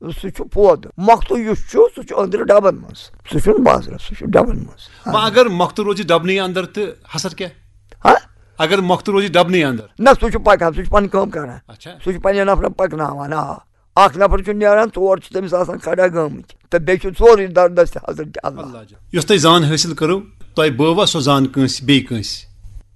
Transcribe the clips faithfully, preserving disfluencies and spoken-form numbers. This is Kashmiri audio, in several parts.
سُہ چھُ پوٚد۔ مۄختہٕ یُس چھُ، سُہ چھُ أنٛدرٕ ڈبن منٛز، سُہ چھُنہٕ بازرس، سُہ چھُ ڈبن منٛز۔ وۄنۍ اگر مۄختہٕ روزِ ڈبنٕے اندر تہٕ حسر کیٛاہ؟ ہا؟ اگر مۄختہٕ روزِ ڈبنٕے اندر؟ نہ، سُہ چھُ پکان، سُہ چھُ پنٕنۍ کٲم کران۔ اچھا۔ سُہ چھُ پننٮ۪ن نفرن پکناوان۔ آ، اکھ نفر چھُ نیران، ژور چھِ تٔمِس آسان کھڑا گٔمٕتۍ، تہٕ بیٚیہِ چھُ ژورُے دردس تہِ حضرت اللہ۔ اللہ جان۔ یۄس تۄہہِ زان حٲصِل کٔرٕو، تۄہہِ بٲوا سۄ زان کٲنٛسہِ بیٚیہِ کٲنٛسہِ؟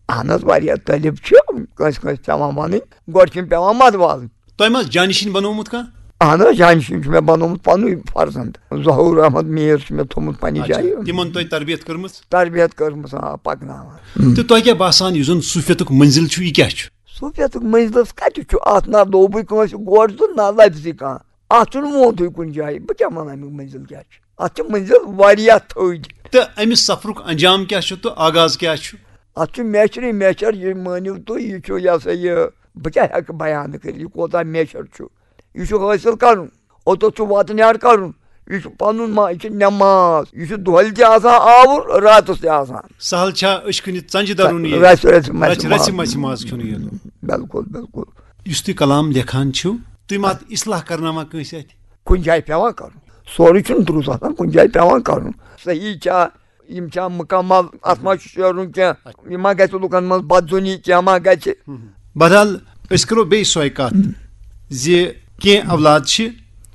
اہن حظ، واریاہ طٲلب چھِ، کٲنٛسہِ کٲنٛسہِ پٮ۪وان ونٕنۍ، گۄڈٕ چھِنہٕ پٮ۪وان مدٕ والٕنۍ۔ تۄہہِ ما جانشین بنوومُت کانٛہہ؟ اہن حظ، جانشین چھُ مےٚ بنوومُت پنُے فرزند۔ ظہور احمد میر چھُ مےٚ تھوٚومُت پننہِ اچھا، جایہِ۔ تِمن تۄہہِ تربیت کٔرمٕژ؟ تربیت کٔرمٕژ، آ، پکناوان۔ تہٕ تۄہہِ کیٛاہ باسان، یُس زن صوفیتُک منزل چھُ، یہِ کیٛاہ چھُ؟ صوفیتُک منزلس کتہِ چھُ؟ اتھ نہ دوٚپُے کٲنٛسہِ گۄڈٕ تہٕ نہ لفظی کانٛہہ۔ اتھ چھُنہٕ ووٚنتھٕے کُنہِ جایہِ۔ بہٕ کیٛاہ ونہٕ امیُک منزل کیٛاہ چھُ؟ اتھ چھِ منزل واریاہ تھٔدۍ۔ تہٕ امہِ سفرُک انجام کیٛاہ چھُ تہٕ آغاز کیٛاہ چھُ؟ اتھ چھُ میچھرٕے میچھر، یہِ مٲنِو تُہۍ، یہِ چھُ، یہِ ہسا یہِ، بہٕ کیٛاہ ہٮ۪کہٕ بیان کٔرِتھ، یہِ کوتاہ میچھر چھُ۔ یہِ چھُ حٲصِل کرُن۔ اوٚتَتھ چھُ واتہٕ نیار کرُن۔ یہِ چھُ پنُن ما-، یہِ چھُ نٮ۪ماز۔ یہِ چھُ دۄہلہِ تہِ آسان آوُر، راتس تہِ آسان۔ سہل چھا أچھ کُنہِ ژنجہِ درُن یہِ؟ رژھِ، رژھِ مژِ رژھِ، رژھِ ماز۔ مژِ ماز کھیوٚن یہِ۔ بِلکُل، بِلکُل۔ یُس تُہۍ کلام لیکھان چھِو، تُہۍ ما اَتھ اصلاح کرناوان کٲنٛسہِ اَتھِ؟ کُنہِ جایہِ پٮ۪وان کرُن۔ سورُے چھُنہٕ درُست آسان، کُنہِ جایہِ پٮ۪وان کرُن۔ صحیح چھا، یِم چھا مُکمل، اَتھ ما چھُ شیرُن کینٛہہ، یہِ ما گژھِ لُکن منٛز بدظنی، کینٛہہ ما گژھِ؟ بہرحال، أسۍ کرو بیٚیہِ سۄے کتھ زِ کینٛہہ اولاد چھِ،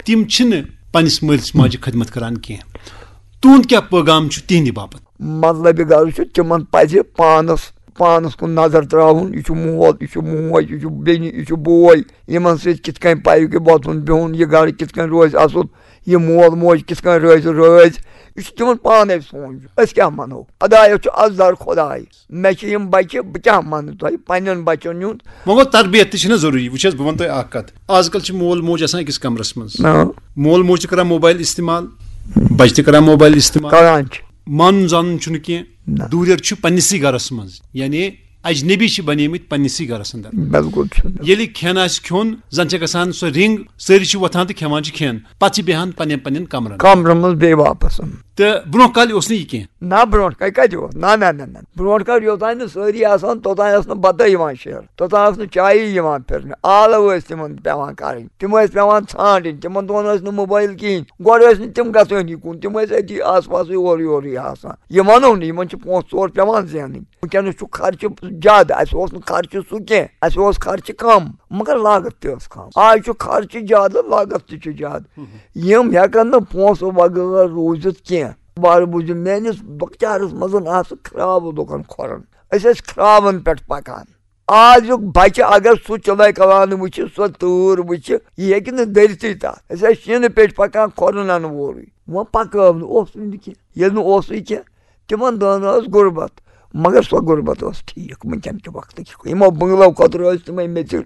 تِم چھِنہٕ پننِس مٲلِس ماجہِ خدمت کران کینٛہہ۔ تُہُنٛد کیٛاہ پیغام چھُ تِہنٛدِ باپتھ؟ مطلب غرض چھُ، تِمن پزِ پانس، پانس کُن نظر تراوُن۔ یہِ چھُ مول، یہِ چھُ موج، یہِ چھُ بیٚنہِ، یہِ چھُ بوے۔ یِمن سۭتۍ کِتھ کٔنۍ پَزِ وۄتھُن بِہُن، یہِ گرٕ کِتھ کٔنۍ روزِ اَصٕل، یہِ مول موج کِتھ کٔنۍ روزِ رٲضۍ، یہِ چھُ تِمن پانے سونٛچُن۔ أسۍ کیٛاہ وَنو؟ خۄدایَس چھُ اَتھ زَر خۄداے۔ مےٚ چھِ یِم بَچہِ، بہٕ کیٛاہ وَنہٕ تۄہہِ پنٛنٮ۪ن بَچَن ہُنٛد؟ وۄنۍ گوٚو، تربیت تہِ چھِنہ ضروٗری۔ وٕچھ حظ، بہٕ وَنہٕ تۄہہِ اَکھ کَتھ۔ آز کَل چھِ مول موج آسان أکِس کَمرَس منٛز۔ آ۔ مول موج تہِ کَران موبایل استعمال، بَچہِ تہِ کَران موبایل استعمال۔ کَران چھِ۔ مانُن زانُن چھُنہٕ کینٛہہ۔ نہ۔ دوٗریر چھُ پنٛنِسٕے گَرَس منٛز، یعنی اجنبی چھِ بنیمٕتۍ پننِسٕے گَرَس اندر۔ بِلکُل چھُ۔ ییٚلہِ کھٮ۪ن آسہِ کھیوٚن، زَن چھِ گژھان سۄ رِنٛگ، سٲری چھِ وۄتھان تہٕ کھٮ۪وان چھِ کھٮ۪ن، پَتہٕ چھِ بیٚہان پنٛنٮ۪ن پنٛنٮ۪ن کَمرَن۔ کَمرَن منٛز بیٚیہِ واپَس۔ تہٕ برونٛہہ کالہِ اوس نہٕ یہِ کینٛہہ۔ نہ، برونٛٹھ کالہِ کَتہِ اوس؟ نہ، نہ، نہ، نہ۔ برونٛٹھ کالہِ یوٚتام نہٕ سٲری آسان، توٚتام ٲس نہٕ بَتَے یِوان شیرنہٕ، توٚتام ٲس نہٕ چایی یِوان پھِرنہٕ۔ آلہٕ ٲسۍ تِمَن پٮ۪وان کَرٕنۍ، تِم ٲسۍ پٮ۪وان ژھانٛڈٕنۍ، تِمَن دۄہَن ٲسۍ نہٕ موبایل کِہیٖنۍ۔ گۄڈٕ ٲسۍ نہٕ تِم گژھٲنی کُن، تِم ٲسۍ أتی آس پاسٕے اورٕ یورٕے آسان۔ یہِ وَنو نہٕ، یِمَن چھِ پونٛسہٕ ژور پٮ۪وان زینٕنۍ۔ وٕنکیٚنَس چھُ خرچہٕ زیادٕ، اَسہِ اوس نہٕ خرچہٕ سُہ کینٛہہ، اَسہِ اوس خرچہٕ کَم، مگر لاگَتھ تہِ ٲس کَم۔ آز چھُ خرچہٕ زیادٕ، لاگَتھ تہِ چھُ زیادٕ۔ یِم ہٮ۪کَن نہٕ پونٛسہٕ بغٲر روٗزِتھ کینٛہہ۔ وارٕ بوٗزِو، میٛٲنِس لۄکچارَس منٛز آسہٕ کھرٛاوٕ لُکَن کھۄرَن۔ أسۍ ٲسۍ کھرٛاوَن پٮ۪ٹھ پَکان۔ آزُک بَچہٕ اگر سُہ چِلَے کلان وٕچھِ، سۄ تۭر وٕچھِ، یہِ ہیٚکہِ نہٕ دٔرتھٕے تَتھ۔ أسۍ ٲسۍ شیٖنہٕ پیٚٹھۍ پَکان کھۄرَن اَنہٕ وورُے۔ وۄنۍ پَکٲو نہٕ، اوسُے نہٕ کینٛہہ۔ ییٚلہِ نہٕ اوسُے کینٛہہ، تِمن دۄہن ٲس غُربت، مگر سۄ غُربت ٲس ٹھیٖک۔ وٕنکیٚن کہِ وقتہٕ کہِ یِمو بنگلو کھۄتہٕ روزِ تِمے میٚژِ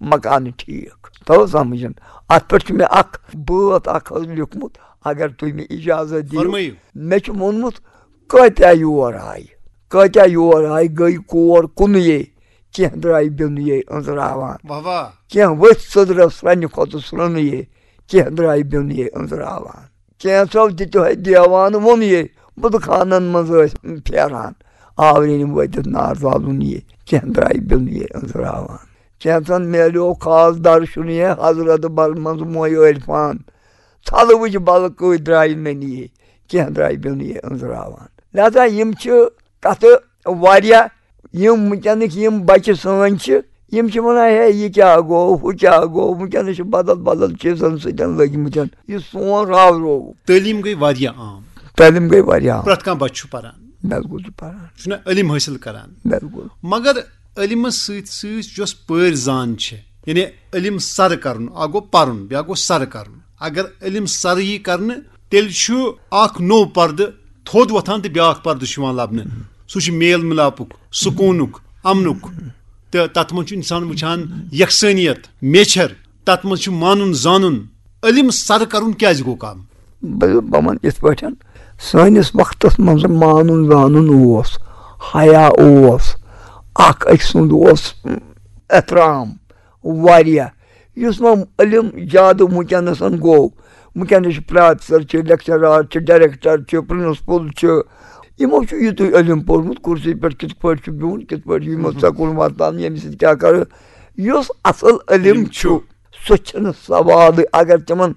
مکانہٕ ٹھیٖک۔ توٚو سمجھن؟ اتھ پٮ۪ٹھ چھُ مےٚ اکھ بٲتھ اکھ حظ لیوٗکھمُت، اگر تُہۍ مےٚ اجازت دِیِو۔ فرمٲیِو۔ مےٚ چھُ ووٚنمُت، کٲتیٛاہ یور آیہِ، کٲتیٛاہ یور آیہِ، گٔے کور کُنُے، کینٛہہ درٛاے بیوٚنُے أنٛزراوان۔ واہ واہ۔ کینٛہہ ؤتھۍ سٔدرس سرٛنہِ کھۄتہٕ سرٛنُے، کینٛہہ درٛاے بیوٚنُے أنٛزراوان۔ کینٛژو دِتِہے دیوان ووٚن یے، بُدٕ خانن منٛز ٲسۍ پھیران، آورِنۍ وٲتِتھ نار زالُن یے، کینٛہہ درٛاے بیوٚن یے أنٛزراوان۔ کینٛژن میلیو خاص درشُن یے، حضرت بل منٛز موے عرفان، ژھلہٕ وٕچھ بلہٕ کۭتۍ درٛاے نٔنۍ یے، کینٛہہ درٛاے بیوٚن یے أنٛزراوان۔ لہذا یِم چھِ کتھٕ واریاہ، یِم وٕنکیٚنٕکۍ یِم بچہِ سٲنۍ چھِ، یِم چھِ ونان، ہے، یہِ کیٛاہ گوٚو، ہُہ کیٛاہ گوٚو؟ وٕنکیٚنس چھِ بدل بدل چیٖزن سۭتۍ لٔگۍ مٕتۍ۔ یہِ سون راو روو۔ تعلیٖم گٔے واریاہ عام۔ تعلیٖم گٔے واریاہ عام۔ پرٛٮ۪تھ کانٛہہ بچہِ چھُ پران۔ بِلکُل چھُ پران۔ چھُنہ علم حٲصِل کران۔ بِلکُل۔ مگر علمس سۭتۍ سۭتۍ یۄس پٲرۍ زان چھِ، یعنی علم سرٕ کرُن، اکھ گوٚو پرُن، بیٛاکھ گوٚو سرٕ کرُن۔ اگر علم سرٕ یی کرنہٕ، تیٚلہِ چھُ اکھ نوٚو پردٕ تھوٚد وۄتھان تہٕ بیٛاکھ پردٕ چھُ یِوان لبنہٕ۔ سُہ چھُ میل مِلاپُک، سکوٗنُک، امنُک۔ تہٕ تتھ منٛز چھُ انسان وٕچھان یکسٲنیت، میچھر۔ تتھ منٛز چھُ مانُن زانُن۔ علم سرٕ کرُن کیٛازِ گوٚو کم؟ بہٕ، بہٕ وَنہٕ یِتھ پٲٹھۍ، سٲنِس وقتس منٛز مانُن زانُن اوس، حیا اوس، اکھ أکۍ سُنٛد اوس احترام واریاہ۔ یُس وۄنۍ علم زیادٕ وٕنکیٚنَس گوٚو، وٕنکیٚنَس چھِ پروفیسر چھِ، لیکچرار چھِ، ڈائریکٹر چھِ، پرنسپل چھِ، یِمو چھُ یِتُے علم پوٚرمُت، کُرسی پٮ۪ٹھ کِتھ پٲٹھۍ چھُ بِہُن، کِتھ پٲٹھۍ چھُ یِمو سکوٗل واتناوُن، ییٚمہِ سۭتۍ کیٛاہ کَرٕ۔ یُس اصل علم علم چھُ، چھُ۔ سُہ چھُنہٕ سوالٕے۔ اگر تِمن